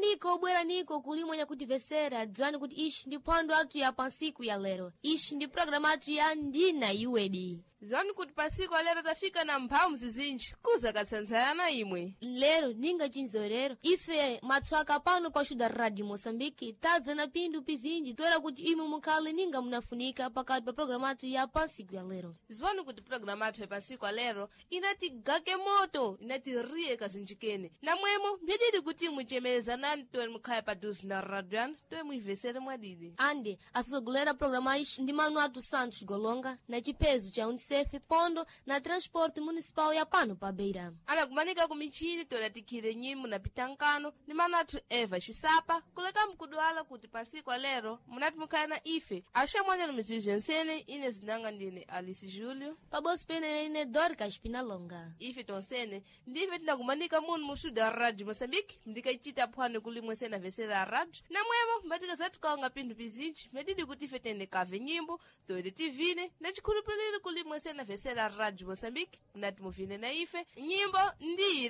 Bweraniko, bweraniko kulimwe nyakutivesera, dziwani kuti ishi ndi phwando athu ya pansiku ya lero. Ishi ndi programu athu ya Ndina Iwedi. Ziwani kuti pasiku alero tafika na mphamu zizinji kuza katsanzayana imwe. Lero ninga chinzorero ife matswaka pano pa xuda Radio Moçambique tadza na pindu pizinji toera kuti imwe mukhale ninga munafunika pakati pa programu athu ya pansiku ya lero. Ziwani kuti programu athu ya pasiku alero inati gake moto, inati riye kazinjikene namwemo mphididi kuti imwe chemerezanani towe mukhale paduze na radio yanu, towe muivesere mwadidi. Ande asogolera programa ishi ndi manu athu Santos Golonga na chiphezo cha UNICEF pondo na transporte municipal ya pano pa Beira. Anakumanika ku michini tolatikhire nyimu na pitankano ni manu athu Eva Xisapa kuleka mkudwala kuti pasiku alero munati mukhale na ife axamwanyana mizizo yonsene. Ine zinanga ndine Alice Julio. Pabodzi pene ine Dorcas Pinalonga. Ife tonsene ndife tinakumanika munu mu studio ya Radio Moçambique ndikachita phwando kulimwe sena vesera radio namwemo mbatika zatikaonga pinthu pizinji medidi kuti ife tende kave nyimbo toete tivine na chikhulupiriro kulimwe sena vesera Radio Moçambique munati muvine na ife nyimbo ndiri.